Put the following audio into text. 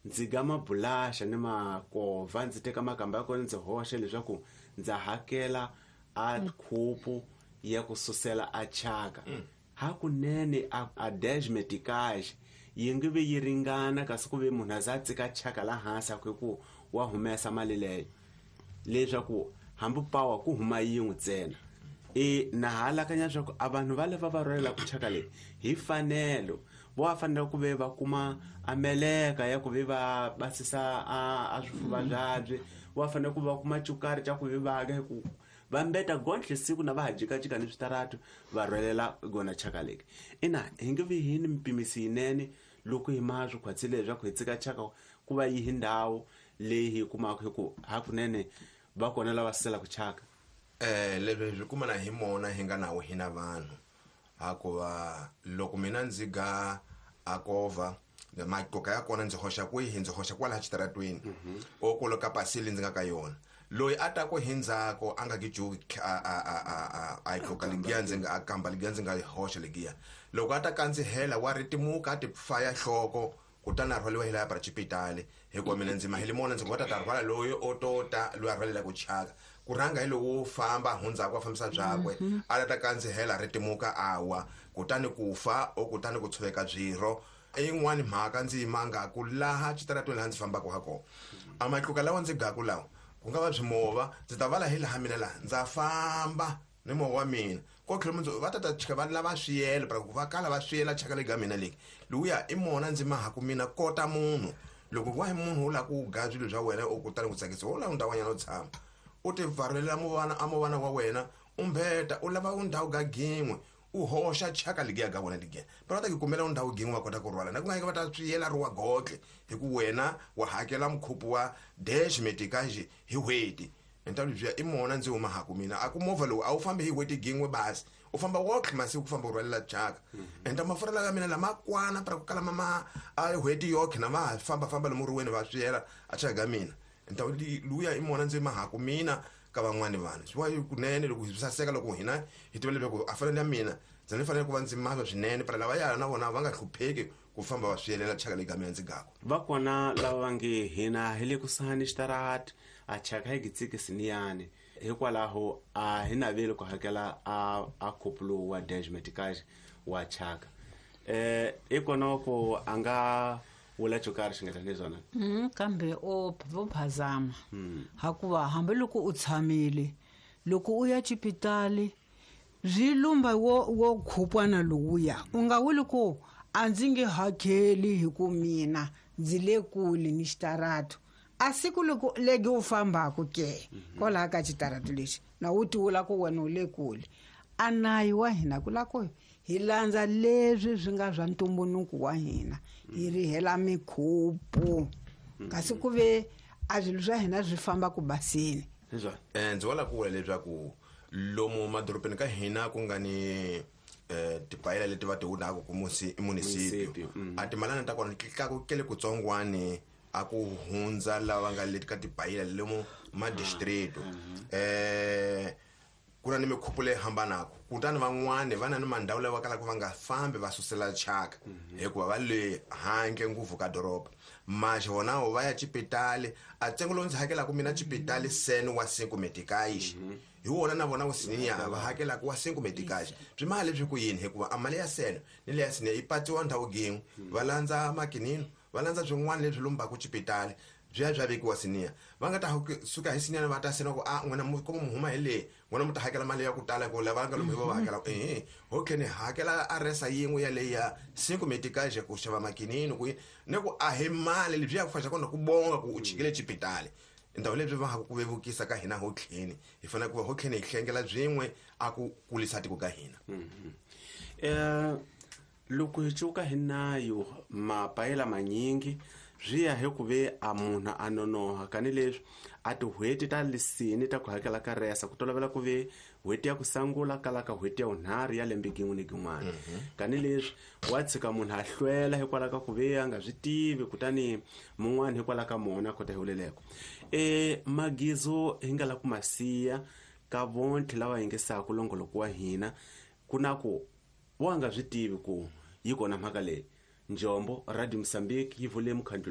Ndzi ga mabulaxa ni makovha, ndzi teka makamba ya kona ndzi hoxa leswaku ndza hakela a khupu ya ku susela a chaka. Hakunene a 10 meticais yi nge vi yi ringana, kasi ku ve munhu a za a tsika chaka la hansi a ku ku wa humesa mali leyo, leswaku hambi pawa ku huma yin'we ntsena. E na ha alakanya leswaku a vanhu va lava va rhwalelaka chaka leyi hi fanelo vo va fanele ku ve va kuma a meleka ya ku ve va basisa a swifuva byabye, va fanele ku va kuma cukari xa ku ve va ka ku va mbeta gontlhe siku na va ha jikajika ni switaratu va rhwalela gona chaka leki. Ina hi nge vi hi ni mpimisi yinene loko hi ma swi khwatsile leswaku hi tsika chaka ku va yihi ndhawu leyi hi kumaka hi ku hakunene va kona lava suselaka chaka. Leswi swi kumana hi mona hi nga nawo hina vanhu, hakuva loko mina ndzi ga akovha matluka ya kona ndzi hoxa kwihi? Ndzi hoxa kwalaha xitaratweni o kolo ka pasili ndzi nga ka yona. Loyi a ta ku hi ndzhaku a nga gijuki a yi tluka legiya ndzi nga a kamba legiya ndzi nga yi hoxa legiya, loko a ta kandzihela wa ritimuka a ti faya nhloko, kutani a rhwaliwa hi laya para xipitali, hikuva mina ndzi mahele mona ndzi ku va ta ta rhwala loyi o to ta loyi a rhwalelaka chaka ku rhanga hi lowo famba hundzaka a fambisa byakwe, a ta ta kandzihela a ritimuka a wa, kutani ku fa o kutani ku tshoveka byirho. I yin'wani mhaka ndzi yimangaku laha xitaratweni laha ndzi fambaka ha kona, a matluka lawa ndzi gaku lawa ku nga va byimovha, ndzi ta vala hi laha mina laha ndza famba ni movha wa mina ko tlhelo mundzuku va ta ta chika va lava swiyelo para ku va kala va swiyela chaka leyi ka mina leyi lowuya i mona ndzi mahaku mina kota munhu. Loko wa hi munhu u lava ku ga swilo swa wena u kutani ku tsakisa wo lava ndhawanyana u tshama u ti pfarelela muvana a muvana wa wena u mbeta u lava u ndhawu ga gin'we u hoxa chaka legiya ga wena legiya va ta ku kumela u ndhawu gin'we va kota ku rhwala na ku nga va ta swiyela ri wa godle, hi ku wena wa hakela mukhupu wa dash metikaji hi n'hweti. Enta lebyiya i mona ndzi huma haku mina a ku movha lowu a wu fambi hi n'hweti gin'we basi u famba wotlhe masiku ku famba u rhwalela chaka. Enta mafurha ya mina lama kwana para ku kala mama a n'hweti yoke na va ha famba famba lomu riweni va swiyela a chaka ga mina. Enta luya i mona ndzi mahaku mina ka van'wani vanhu swi va kunene loko hi saseka loko hina hi tiva leswaku a fanele ya mina ndzi ni fanele ku va ndzi mava swinene para lava ya na vona va nga hlupheki ku famba va swiyelela chaka leyi ka mina ndzi gaku. Va kona lava va nge hina hi le kusuhani xitarati a chaka hi gitsikisi hikwalaho a hi naveli ku hakela a khupu lowu wa dash meticage wa chaka. I kona ku a nga vula xo karhi xi nga tani swona. Kambe o vo phazama, hakuva hambiloko u tshamile loko u ya xipitali byi lumba wo khupwana lowuya u nga vuli ku a ndzi nge hakeli hi ku mina ndzi le kule ni xitaratu. A siku loko legi u fambaku ke kwalaha ka xitaratu lexi na wu ti vula ku wena u le kule, a nayi wa hina ku la ku hi landza leswi swi nga swa ntumbuluko wa hina hi rihela mikhupu, kasi ku ve a swilo swa hina swi famba ku basini. Hiswona. Ndzi wala ku vula leswaku lomu madorobeni ka hina ku nga ni tipayela leti va ti wunaka ku i municipio. Municipio. A timalana ta kona ti tlakukele kutsongwani a ku hundza lava nga le ka tipayela lomu ma district. Ku na ni mikhupu leyi hambanaka, kutani van'wani va na ni mandhawu lawa kalaka va nga fambi va susela chaka hikuva va le handle ngopfu ka doroba, maxe vonawo va ya xipitali. A ntsengo lowu ndzi hakelaka mina xipitali sen wa 5 meticais hi wona na vona wusiniya va hakelaka wa 5 meticais. Byi mali leswi ku yini? Hikuva a mali ya seno ni leya siniya yi patsiwa ndhawu gin'we, va landza makinino va landza swin'wana leswi lombaka xipitali byi ya bya vekiwa siniya va nga ta suka hi siniya va ta sena ku a n'wina mu kuma mu huma hi leyi n'wina mu ta hakela mali ya ku tala ku lava nga lomu hi va va hakela ehe okay ni hakela aresa yin'we ya leyi ya 5 meticais ku xava makinini ku ni ku a hi mali lebyi ya ku faxa kona ku bonga ku u chikile xipitali. Ndhawu lebyi va ha ku vevukisa ka hina hotlheni hi fanele ku va hotlheni hi hlengela byin'we a ku kulisa tiko ka hina. Loko hi cuka hi nayo mapayela manyingi swi ya hi ku ve a munhu a nonoha kani leswi a tin'hweti ta lisini ta ku hakela ka resa ku tolovela ku ve n'hweti ya ku sangula kala ka n'hweti ya vunharhu ya lembe gin'we ni gin'wana, kani leswi wa tshika munhu a hlwela hikwalaho ka ku ve a nga swi tivi, kutani mun'wana hikwalaho ka mona kota hi vuleleko. Magizo hi nga la ku ma siya ka vontlhe lava yingisaka longoloko wa hina ku na ku wa nga swi tivi ku yi kona mhaka leyi. Njombo Radio Mozambique yi vule mukhandlu.